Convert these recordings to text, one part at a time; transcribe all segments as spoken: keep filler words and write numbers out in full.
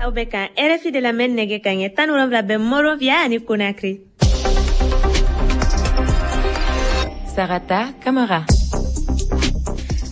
Aw bɛ ka R F I de lamɛn, nɛgɛ ka ɲɛ tan ni wolonwula bɛ Monrovia ani Conakry. Sarata Kamara.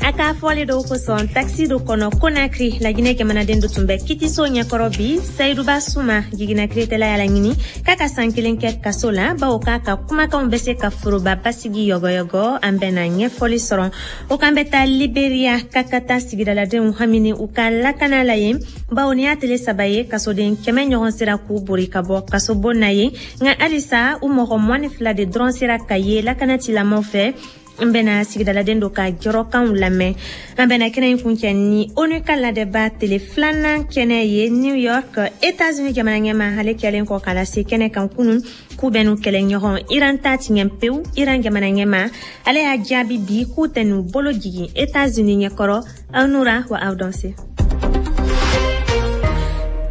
A ka fɔli dɔw kosɔn, taxi dɔ kɔnɔ Conakry, Laginɛ jamanaden dɔ tun bɛ kitiso ɲɛkɔrɔ bi. Sayiduba Suma, jigina kiritɛla y'a laɲini k'a ka san kelen kɛ kaso la, bawo k'a ka kumakanw bɛ se ka foroba basigi yɔgɔyɔgɔ. An bɛna ɲɛfɔli sɔrɔ o kan. Bɛ taa Liberia, ka ka taa sigidaladenw hamini u ka lakana la yen, bawo ni y'a tele saba ye, kasoden kɛmɛ ɲɔgɔn sera k'u bori ka bɔ kasobon na ye, nka halisa u mɔgɔ mugan ni fila de dɔrɔn sera ka ye lakana tilamɔw fɛ. N bɛna sigidaladen dɔ ka jɔrɔkanw lamɛn. An bɛna kɛnɛ in kuncɛ ni ONU ka ladɛba tele filanan kɛnɛ ye New York. États-Unis jamana ɲɛma, ale kɛlen kɔ k'a lase kɛnɛ kan kunun k'u bɛ n'u kɛlɛɲɔgɔn Iran ta tiɲɛ pewu, Iran jamana ɲɛma, ale y'a jaabi bi k'u tɛ n'u bolo jigin États-Unis ɲɛkɔrɔ. Aw nura wa aw dɔn se.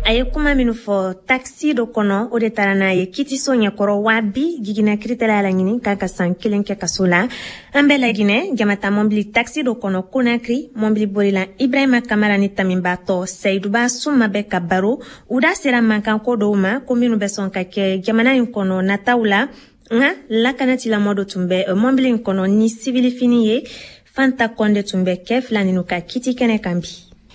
A ye kuma minnu fɔ taxi dɔ kɔnɔ, o de taara n'a ye kitiso ɲɛkɔrɔ. Wa bi, jiginna kiritɛla y'a laɲini k'a ka san kelen kɛ kaso la. An bɛ Laginɛ, jamata mɔbili taxi dɔ kɔnɔ Konakri, mɔbili bolila Ibrahima Kamara ni tamibatɔ Sayiduba Suma bɛ ka baro. U da sera mankanko dɔw ma ko minnu bɛ sɔn ka kɛ jamana in kɔnɔ nataw la, nka lakanatilamɔ dɔ tun bɛ mɔbili in kɔnɔ ni sibilifini ye. Fanta Kɔnde tun bɛ kɛ fila ninu ka kiti kɛnɛ kan bi.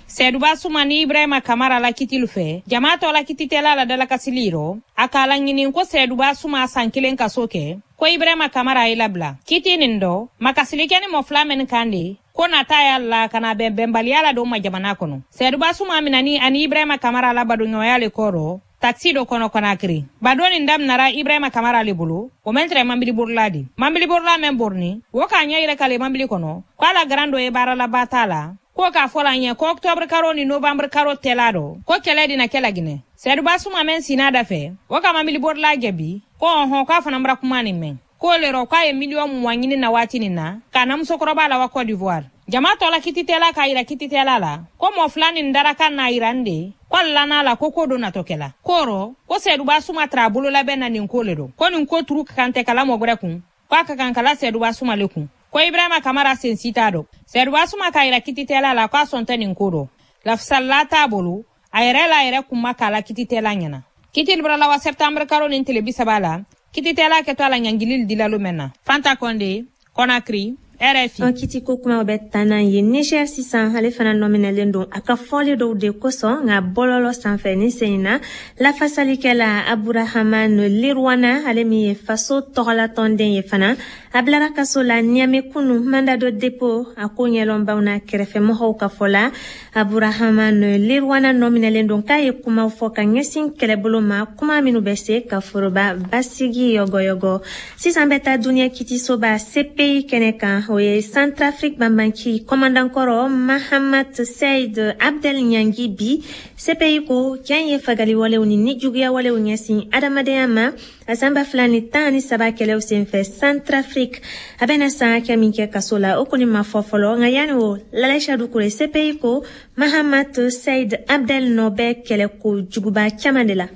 Seduba Suma ni Ibrahima Kamara la kitilu fɛ, jama tɔ la kititɛla la dalakasili rɔ, a k'a laɲini ko Seduba Suma san kelen kaso kɛ, ko Ibrahima Kamara ye labila. Kiti nin dɔ makasili kɛ ni mɔ fila min kan de ko nata y'a la ka na bɛn bɛnbaliya la don ma jamana kɔnɔ. Seduba Suma minani ani Ibrahima Kamara la badoɲɔgɔnya le kɔrɔ taxi dɔ kɔnɔ Konakiri. Badon nin daminara Ibrahima Kamara le bolo, o mɛn tɛrɛ mambili borila di mambili borila mɛn borni wo k'a ɲɛ yɛrɛ k'ale mambili kɔnɔ ko a la garan dɔ ye baaralaba t'a la, ko k'a fɔ la ɲɛ ko octobre karo ni novembre karo tɛla dɔ ko kɛlɛ dina kɛ Laginɛ. Sɛduba Suma mɛn sinna da fɛ, o ka mambili borila jaabi ko ɔhɔn, k'a fana bara kuma nin mɛn k'o le rɔ k'a ye miliyɔn mugan ɲini na waati nin na k'a na musokɔrɔba la wa Côte d'Ivoire. Jama tɔ la kititɛla k'a yira kititɛla la ko mɔ fila nin daraka n'a yira n de ko a lana la ko ko dɔ natɔ kɛla ko rɔ ko Sɛduba Suma tara a bololabɛn na nin ko le dɔ, ko nin ko turu ka kan tɛ kala mɔ gwɛrɛ kun, k'a ka kan kala Sɛduba Suma le kun, ko Ibrahima Kamara sen si t'a dɔ. Sɛduba Suma k'a yira kititɛla la k'a sɔn tɛ nin ko dɔ, lafisalla t'a bolo, a yɛrɛ la yɛrɛ kun ma k'a la kititɛla ɲɛna. Kiti bɔra la wa septembre karo nin tile bi saba la, kititɛla kɛtɔ a la ɲangili dilalo mɛn na. Fanta Kɔnde, Conakry, R F I. An kiti ko kumaw bɛ taa n'an ye Niger sisan. Ale fana nɔminɛlen don a ka fɔli dɔw de kosɔn nka bɔlɔlɔ sanfɛ. Ni sen in na, lafasalikɛla Aburahaman Lirwana, ale min ye faso tɔgɔlatɔnden ye fana, a bilara kaso la Niamey kunu, mandat de dépôt. A ko ɲɛlɔnbaw n'a kɛrɛfɛmɔgɔw ka fɔ la, Aburahaman Lirwana nɔminɛlen don k'a ye kumaw fɔ ka ɲɛsin kɛlɛbolo ma, kuma minnu bɛ se ka foroba basigi yɔgɔyɔgɔ. Sisan bɛ taa duniɲɛ kitisoba C P I kɛnɛ kan. O ye Centrafrique banbanci commandant kɔrɔ Mahamat Said Abdel ɲangi bi. C P I ko cɛn ye fagaliwalew ni nijuguyawalew ɲɛsin adamadenya ma a san ba fila ni tan ni saba kɛlɛw senfɛ Centrafrique. A bɛna san hakɛ min kɛ kaso la, o kɔni ma fɔ fɔlɔ. Nka yanni o, Lalaisa Dukure, C P I ko Mahamat Said Abdel nɔ bɛ kɛlɛko juguba caman de la.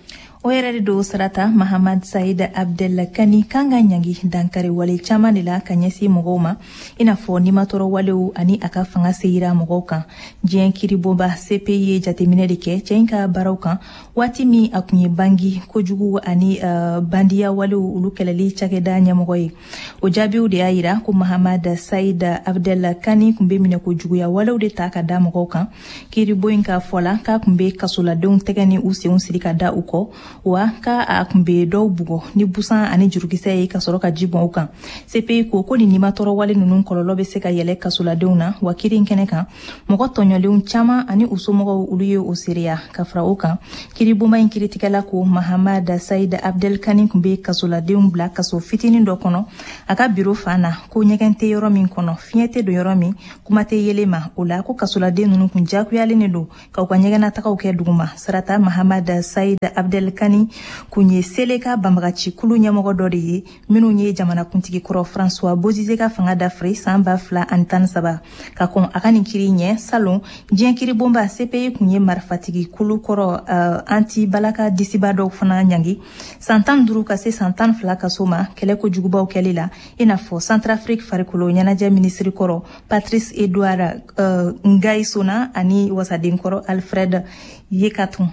O yɛrɛ de don, Sarata. Mahamad Said Abdel Kani kan ka ɲangi dankari wale caman de la ka ɲɛsin mɔgɔw ma, i n'a fɔ nimatɔrɔ walew ani a ka fanga seyira mɔgɔw kan. Diɲɛ kiribonba C P I ye jateminɛ de kɛ cɛ in ka baaraw kan waati min a kun ye bangi kojugu ani uh, bandiya walew olu kɛlɛli cakɛda ɲɛmɔgɔ ye. O jaabiw de y'a yira ko Mahamad Said Abdel Kani kun be minɛ kojuguya walew de ta ka da mɔgɔw kan. Kiribon in ka fɔ la, k'a kun be kasoladenw tɛgɛ ni u senw siri ka da u kɔ, wa ka a kun be dɔw bugɔ ni busan ani jurukisɛ ye ka sɔrɔ ka ji bɔn u kan. C P I ko ko nin nimatɔrɔ wale ninnu kɔlɔlɔ be se ka yɛlɛ kasoladenw na. Wa kiri in kɛnɛ kan, mɔgɔ tɔɲɔlenw caaman ani u somɔgɔw, olu ye o seereya. Ka fara o kan, kiribonba in kiritigɛla ko Mahamad Said Abdel Kani kun be kasoladenw bila kaso fitinin dɔ kɔnɔ a ka biro fan na, ko ɲɛgɛn tɛ yɔrɔ min kɔnɔ, fiɲɛ tɛ don yɔrɔ min, kuma tɛ yelen ma. O la ko kasoladen ninnu kun jakuyalen de don k'u ka ɲɛgɛnnatagaw kɛ duguma. Sarata, Mahamad Said Abdel Kani kun ye Seleka banbagaci kulu ɲɛmɔgɔ dɔ de ye minnu ye jamanakuntigi kɔrɔ François Bozize ka fanga dafiri san ba fila ani tan ni saba. Ka kɔn a ka nin kiri ɲɛ salon, diɲɛ kiribonba C P I kun ye marifatigi kulu kɔrɔ uh, anti balaka disiba dɔw fana ɲangi san tan duuru ka se san tan fila kaso ma kɛlɛ kojugubaw kɛli la, i n'a fɔ Centrafrique farikolo ɲɛnajɛ minisiri kɔrɔ Patrice Edouard uh, Ngaïssona ani wasaden kɔrɔ Alfred Yekatun.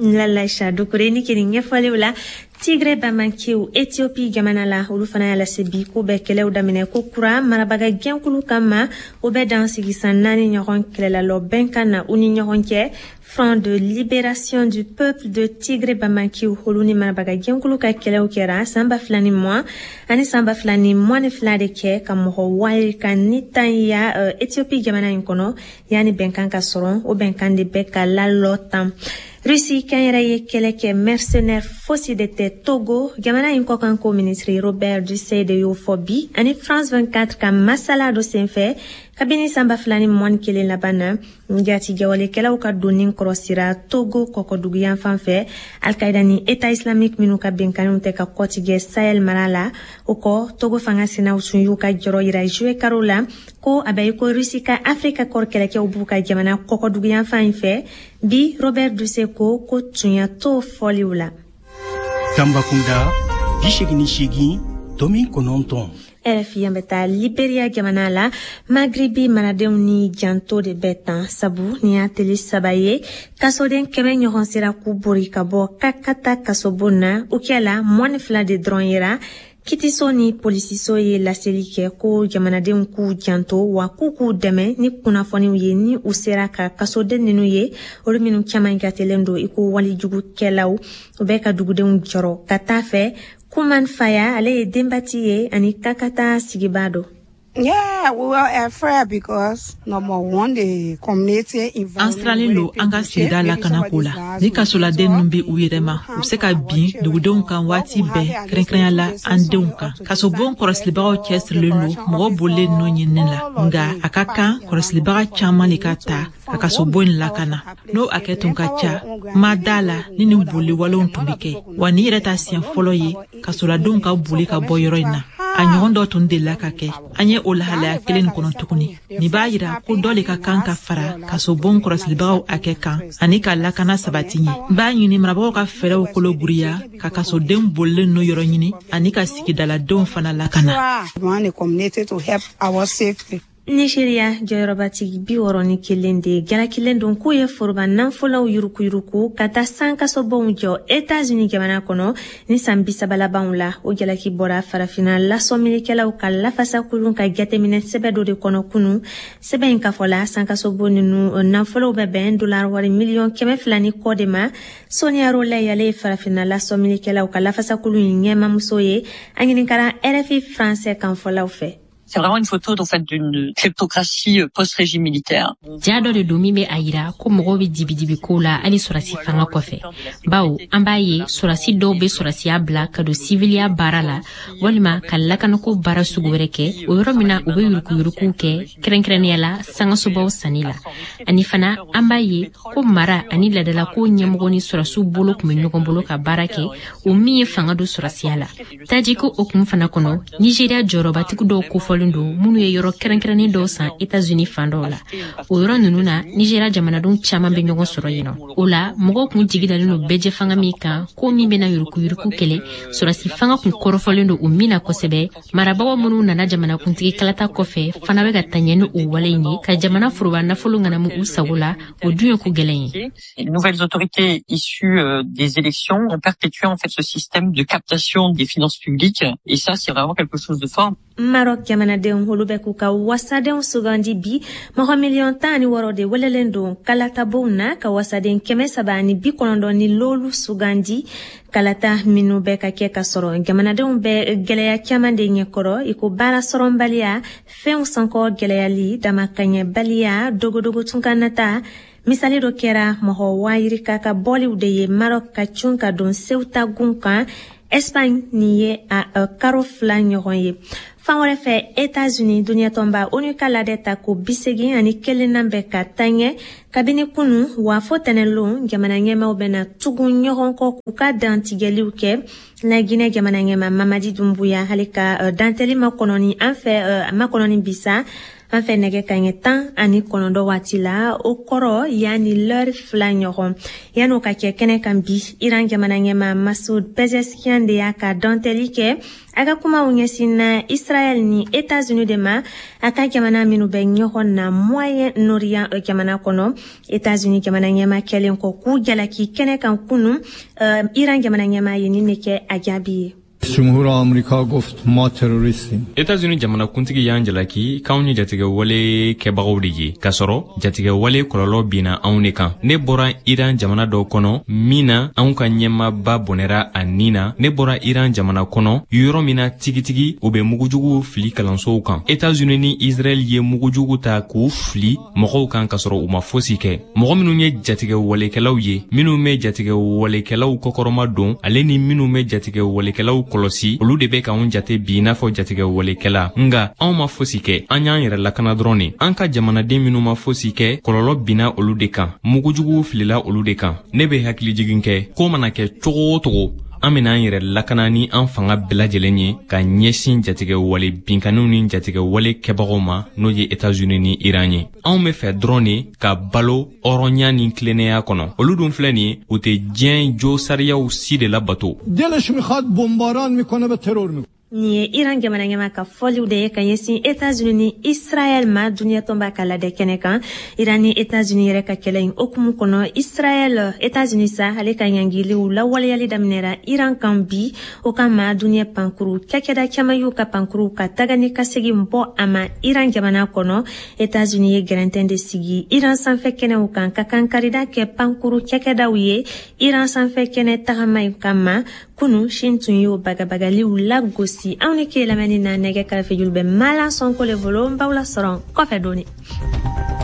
Lalaïcha Doucouré ni kini ɲɛfɔliw la. Tigre Bamankiw Ethiopie jamana la, olu fana y'a lase bi k'u bɛ kɛlɛw daminɛ ko kura marabaga gɛnkulu kama. O bɛ dan sigi san naani ɲɔgɔn kɛlɛlalɔ bɛnkan na u ni ɲɔgɔn cɛ. Front de libération du peuple de Tigre Bamankiw, olu ni marabaga gɛnkulu ka kɛlɛw kɛra san ba fila ni mugan ani san ba fila ni mugan ni fila de kɛ ka mɔgɔ wari ka ni tan ya Ethiopie jamana in kɔnɔ yanni bɛnkan ka sɔrɔ. O bɛnkan de bɛ ka lalɔ tan. Russie kɛnyɛrɛ ye kɛlɛ kɛ mercenaire fosi de tɛ Togo. Jamana in kɔkanko minisiri Robert Dussey de y'o fɔ bi ani France vingt-quatre ka masala dɔ senfɛ. Kabini san ba fila ni mugan ni kelen laban na, jatigɛwalekɛlaw ka donni kɔrɔsira Togo kɔkɔduguyan fan fɛ, Al-Qaïda ni État islamique minnu ka benkanniw tɛ ka kɔtigɛ Sahel mara la. O kɔ, Togo fanga sinaw tun y'u ka jɔrɔ yira juillet karo la ko a bɛ i ko Russie ka Afrika kɔrɔ kɛlɛkɛw b'u ka jamana kɔkɔduguyan fan in fɛ. Bi Robert Dussey ko ko tunya t'o fɔliw la. Tambacounda, bi seegin ni seegin tomi kɔnɔntɔn. R F I, an bɛ taa Liberia jamana la. Magribi maradenw ni janto de bɛ tan, sabu nin y'a teli saba ye kasoden kɛmɛ ɲɔgɔn sera k'u bori ka bɔ Kakata kasobon na. O kɛla mɔni fila de dɔrɔn yera. Kitiso ni polisiso ye laseli kɛ ko jamanadenw k'u janto wa k'u k'u dɛmɛ ni kunnafoniw ye ni u sera ka kasoden ninnu ye, olu minnu caman jatelen don i ko walijugukɛlaw. U bɛ ka dugudenw jɔrɔ ka taa fɛ. Kuman Faya, ale ye denbati ye ani Kakata sigibaa don. Yeah, we were afraid because number one, the community. An sirannen don an ka sigida lakanako la. Ni kasoladen ninnu bɛ u yɛrɛ ma, u bɛ se ka bin dugudenw kan waati bɛɛ, kɛrɛnkɛrɛnya la an denw kan. Kasobon kɔlɔsilibagaw cɛsirilen don mɔgɔ bolilen ninnu ɲinini la, nka a ka kan kɔlɔsilibaga caman de ka ta ka kasobon in lakana. N'o hakɛ tun ka ca, ma da la ni nin boliwalew tun bɛ kɛ. Wa nin yɛrɛ ta siɲɛ fɔlɔ ye kasoladenw ka boli ka bɔ yɔrɔ in na. A ɲɔgɔn dɔ tun delila ka kɛ. An ye o lahalaya kelen nin kɔnɔ tuguni. Nin b'a yira ko dɔ le ka kan ka fara kasobon kɔlɔsilibagaw hakɛ kan ani ka lakana sabati ɲɛ. N b'a ɲini marabagaw ka fɛɛrɛw kolo giriya ka kasoden bolilen ninnu yɔrɔ ɲini ani ka sigidaladenw fana lakana. Nigeria jɔyɔrɔbatigi bi wɔɔrɔ ni kelen de jalakilen don k'u ye foroba nafolow yurukuyuruku ka taa sankasobonw jɔ Etats-Unis jamana kɔnɔ ni san bi saba labanw la. O jalaki bɔra farafinna lasɔmilikɛlaw ka lafasakulun ka jateminɛ sɛbɛ dɔ de kɔnɔ kunu. Sɛbɛn in ka fɔ la, sankasobon ninnu nafolow bɛ bɛn dollar wari miliyɔn kɛmɛ fila ni kɔ de ma. Sonia Rolley, ale ye farafinna lasɔmilikɛlaw ka lafasakulun in ɲɛmamuso ye, a ɲininkara R F I français kanfɔlaw fɛ. C'est vraiment une photo en fait d'une kleptocratie post-régime militaire. Ja dɔ de don min bɛ a yira ko mɔgɔw bɛ dibidibi ko la hali sɔrɔsi fanga kɔfɛ, bawo an b'a ye sɔrɔsi dɔw bɛ sɔrɔsiya bila ka don siviliya baara la walima ka lakanako baara sugu wɛrɛ kɛ, o yɔrɔ min na u bɛ yurukuyurukuw kɛ, kɛrɛnkɛrɛnnenya la sangasobaw sanni la. Ani fana an b'a ye ko mara ani ladalako ɲɛmɔgɔ ni sɔrɔsiw bolo tun bɛ ɲɔgɔn bolo ka baara kɛ, o min ye fanga don sɔrɔsiya la. Tajiko o kun fana kɔnɔ, Nigéria jɔyɔrɔbatigi dɔw kofɔlen don minnu ye yɔrɔ kɛrɛnkɛrɛnnen dɔw san Etats-Unis fan dɔw la. O yɔrɔ ninnu na, Nigéria jamanadenw caman bɛ ɲɔgɔn sɔrɔ yen nɔ. O la mɔgɔw kun jigi dalen don bɛɛjɛ fanga min kan ko min bɛna yurukuyuruku kɛlɛ, sɔrɔsi fanga kun kɔrɔfɔlen don o min na kosɛbɛ. Marabagaw minnu nana jamanakuntigi kalata kɔfɛ fana bɛ ka taa ɲɛ ni o wale in ye ka jamana foroba nafolo ŋanamu u sago la. O dun ye ko gɛlɛn ye. Les nouvelles autorités issues des élections ont perpétué en fait ce système de captation des finances publiques et ça, c'est vraiment quelque chose de fort. Maroc jamanadenw, olu bɛ k'u ka wasadenw sugandi bi. Mɔgɔ miliyɔn tan ani wɔɔrɔ de welelen don kalatabow na ka wasaden kɛmɛ saba ani bi kɔnɔntɔn ni lolu sugandi. Kalata minnu bɛ ka kɛ ka sɔrɔ jamanadenw bɛ gwɛlɛya caman de ɲɛkɔrɔ, i ko baara sɔrɔnbaliya, fɛnw sankɔ gwɛlɛyali, damakaɲɛbaliya, dogodogo tunkanata. Misali dɔ kɛra mɔgɔ wayirika ka bɔliw de ye Maroc ka cun ka don Ceuta gun kan Espagne. Nin ye a karo fila ɲɔgɔn ye. Fan wɛrɛ fɛ, Etats-Unis, duniyatɔnba ONU ka ladɛ ta ko bisegin ani kelennan bɛ ka taɲɛ kabini kunu wa fo tɛnɛlon. Jamana ɲɛmaw bɛna tugun ɲɔgɔn kɔ k'u ka dantigɛliw kɛ. La Guinée jamana ɲɛma Mamadi Dumbuya, ale ka dantɛli makɔnɔni an fɛ makɔnɔni bisa. An fɛ nɛgɛ kanɲɛ tan ani kɔnɔntɔn waati la, o kɔrɔ yanni lɛri fila ɲɔgɔn. Yan'o ka kɛ kɛnɛ kan bi, Iran jamana ɲɛmaa Masoud Pezeshkian de y'a ka dɔntɛli kɛ. A ka kumaw ɲɛsinna Israël ni États-Unis de ma, a ka jamana minnu bɛ ɲɔgɔn na Moyen-Orient jamana kɔnɔ. États-Unis jamana ɲɛmaa kɛlen kɔ k'u jalaki kɛnɛ kan kunun, uh, Iran jamana ɲɛmaa ye nin de kɛ a jaabi ye. جمهور آمریکا گفت ما تروریستیم. États-Unis jamanakuntigi y'an jalaki k'anw ye jatigɛwale kɛbagaw de ye, k'a sɔrɔ jatigɛwale kɔlɔlɔ binna anw de kan. Ne bɔra Iran jamana dɔ kɔnɔ min na anw ka ɲɛmaaba bɔnɛra a nin na. Ne bɔra Iran jamana kɔnɔ yɔrɔ min na tigitigi u bɛ mugujuguw fili kalansow kan. États-Unis ni Israël ye mugujugu ta k'u fili mɔgɔw kan k'a sɔrɔ u ma fosi kɛ. Mɔgɔ minnu ye jatigɛwalekɛlaw ye, minnu bɛ jatigɛwalekɛlaw kɔkɔrɔma don, ale ni minnu bɛ jatigɛwalekɛlaw kɔlɔsi, olu de bɛ k'anw jate bi i n'a fɔ jatigɛwalekɛla. Nga anw ma fosi kɛ, an y'an yɛrɛ lakana dɔrɔn de. An ka jamanaden minnu ma fosi kɛ, kɔlɔlɔ binna olu de kan, mugujuguw filila olu de kan. Ne bɛ hakilijigin kɛ, ko mana kɛ cogo o cogo, an bɛna an yɛrɛ lakana ni an fanga bɛɛ lajɛlen ye ka ɲɛsin jatigɛwale binkanniw ni jatigɛwale kɛbagaw ma, n'o ye États-Unis ni Iran ye. Anw bɛ fɛ dɔrɔn de ka balo hɔrɔnya ni tilennenya kɔnɔ. Olu dun filɛ nin ye, u tɛ diɲɛ jo sariyaw si de labato. دلش میخواد بمباران میکنه به ترور میکنه. Nin ye Iran jamana ɲɛmaa ka fɔliw de ye ka ɲɛsin États-Unis ni Israël ma duniɲɛ tɔnba ka lajɛ kɛnɛ kan. Iran ni États-Unis yɛrɛ ka kɛlɛ in hokumu kɔnɔ, Israël États-Unis sa ale ka ɲangiliw lawaleyali daminɛra Iran kan bi. O kama duniɲɛ pankuru cakɛda caman y'u ka pankuruw ka taga ni ka segin bɔ a ma Iran jamana kɔnɔ. États-Unis ye gɛrɛntɛn de sigi Iran sanfɛ kɛnɛw kan ka kankarida kɛ pankuru cakɛdaw ye Iran sanfɛ kɛnɛ tagama in kama. Kunu Chine tun y'o bagabagaliw lagosi. Aw ni ke lamɛnni na, nɛgɛ kɛrɛfɛ julu bɛ Malan Sɔnko le bolo. N b'aw lasɔrɔ kɔfɛ dɔɔni.